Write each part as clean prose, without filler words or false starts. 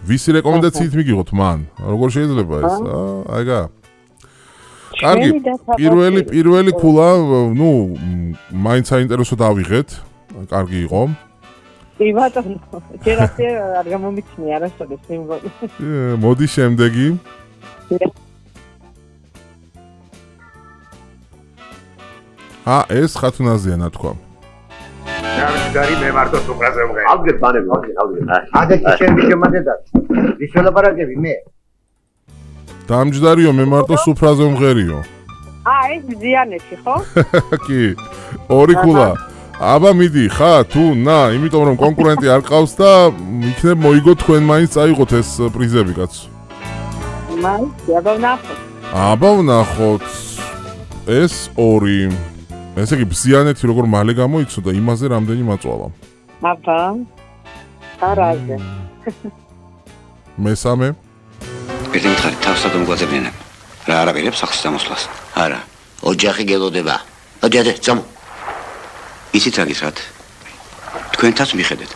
ვისი რეკომენდაციით მიგიღოთ მან? როგორ შეიძლება ეს? აიგა. კარგი, პირველი ქულა, ნუ, მაინც საინტერესო დავიღეთ. კარგი იყო. ბატონო, ჯერ ასე არ გამომიჩნია არასოდეს სიმბოლო. მოდი შემდეგი. ეს ხათუნაზეა ნათქვა. გარი მე მარტო სუპრაზე ვღე. ალგეთ ბანები, ალგეთ. აგეთ ჩემი შემადედად. ის ველაპარაკები მე. დამჯდარიო მე მარტო სუფრაზე ვღერიო. ეს ზიანეთი, ხო? კი. ორი ქულა. აბა მიდი, ხა, თუ, ნა, იმიტომ რომ კონკურენტი არ ყავს და იქნებ მოიგო თქვენ მაინც წაიღოთ ეს პრიზები, კაცო. აბა ვნახოთ. ეს ორი. ესე იგი ბზიანეთი როგორ მალე გამოიცოდა, იმაზე რამდენი მაწვალა. აბა. არაზე. მესამე. ერთი მითხარი თავსად მომგვაწებინებ. რა არაპირებს სახლის დამოსვლას? არა. ოჯახი გელოდება. ადე, წამო. ისიც აგისრათ. თქვენთაც მიხედეთ.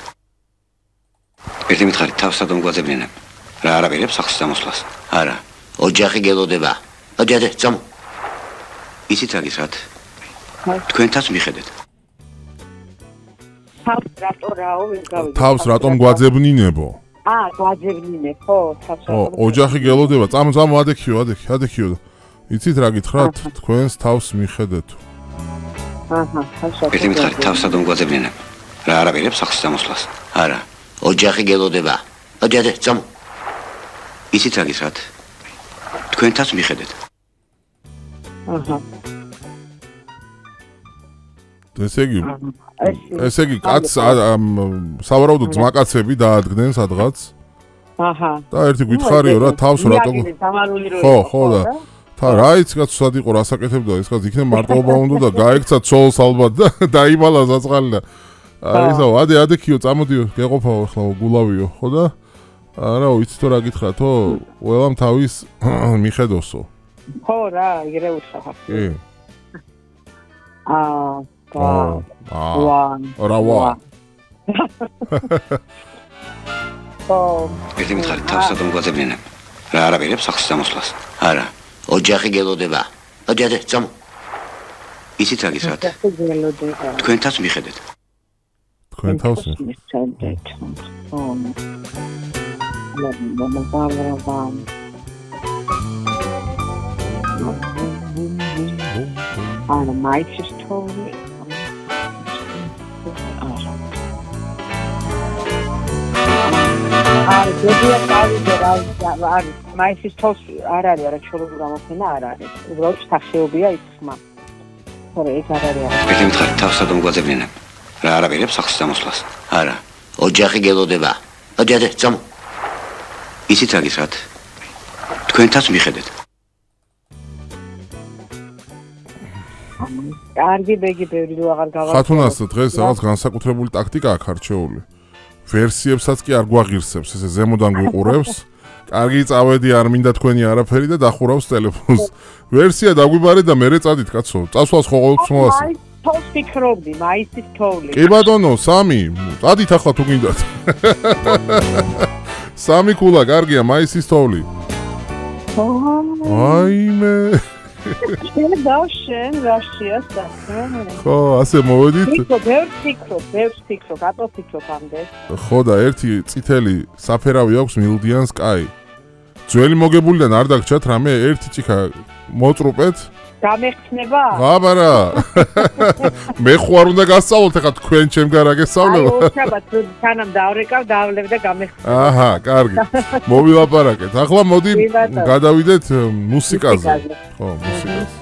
ერთი მითხარი თავსად მომგვაწებინებ. რა არაპირებს სახლის დამოსვლას? არა. ოჯახი გელოდება. ადე, წამო. ისიც აგისრათ. თქვენთაც მიხედეთ. თავს რატომ გვაძებნინებო? გვაძებნინებ, ხო, თავს რატომ. ოჯახი გელოდება, წამო, ადექიო. იცით რა გითხრათ? თქვენს თავს მიხედეთ. ერთი მითხარი თავსად მომგვაწებინებ. რა არაპირებს სახლის დამოსვლას? არა. ოჯახი გელოდება. ადე, წამო. ისიც აგისრათ. თქვენთაც მიხედეთ. ესე იგი კაც სავარაუდოდ ძმაკაცები დაადგნენ სადღაც. და ერთი გითხარიო რა თავს რატო? ხო და რაიც კაც სად იყო რასაკეთებდა ეს კაც იქნებ მარტოობა უნდა და გაექცა ცოლს ალბათ და დაიმალა ზაწყალი და ისო ადე ქიო წამოდიო გეყოფაო ახლა გულავიო ხო და არა ვიცი თუ რა გითხრათო ყველამ თავის მიხედოსო. ხო რა იგივე უთხრა. კი. ვა. ერთი მითხარი თავსად მომგვაწებინებ. რა არაპირებს სახლის დამოსვლას? არა. ოჯახი გელოდება. ადე, წამო. ისიც აგისრათ. თქვენთაც მიხედეთ. თქვენ თავს მიხედეთ. არა, მაიცის თოვლი. ზოგიერთ არის მაისის თავს არ არის არაჩვეულებრივი გამოფენა არ არის. უბრალოდ შეხებია ის ხმა. ხორე ეს არ არის. ერთი მითხარი თავსად მომგვაწებინებ. რა არაპირებს სახლის დამოსვლას? არა. ოჯახი გელოდება. ადე, წამო. ისიც აგისრათ. თქვენთაც მიხედეთ. კარგი ბეგი ბევრი რო აღარ გავაკეთე. ხათუნას დღეს რაღაც განსაკუთრებული ტაქტიკა აქვს არჩეული. ვერსიებსაც კი არ გვაღირსებს, ესე ზემოდან გვიყურებს. კარგი წავედი, არ მინდა თქვენი არაფერი და დახურავს ტელეფონს. ვერსია დაგვიბარე და მერე წადით, კაცო. წასვლას ხო ყოველთვის მოასწრე. თავს ფიქრობდი, მაისის თოვლი. კი ბატონო, 3. წადით ახლა თუ გინდათ. 3 ქულა, კარგია, მაისის თოვლი. აიმე. შენ დავშენ რაშიას და ხო, ასე მოვედით. ბევრს ფიქრობ, ატო ფიქრობ ამდენ. ხო და ერთი წითელი საფერავი აქვს მილდიანს კაი. ძველი მოგებულიდან არ დაგჭათ რამე ერთი ჭიქა მოწრუპეთ. გამეხსნება? აბარა. მე ხო არ უნდა გასწავლოთ ახლა თქვენ ჩემ გარ აგესწავლებო. აი, უშაბათ თანამ დავრეკავ, დავლებ და გამეხსნება. აჰა, კარგი. მოვილაპარაკეთ. ახლა მოდი გადავიდეთ მუსიკაზე. ხო, მუსიკაზე.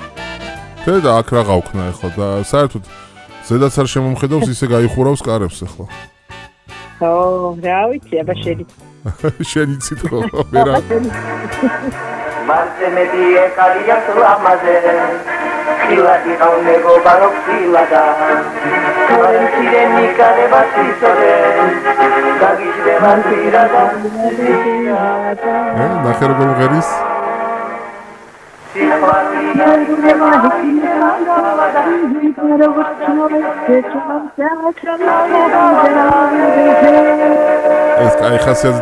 და აქ რა გავქნა ახლა და საერთოდ ზედაც არ შემომხედავს ისე გაიხურავს კარებს ახლა. ხო, რა ვიცი, აბა შენი. შენი ცით ხო, ვერა. Marce me die caria suamade Khila di kaune go barok silada Karen sirenica de basisore Dagis de vampirada ნახე როგორ ღერის ეს კაი ხასიათი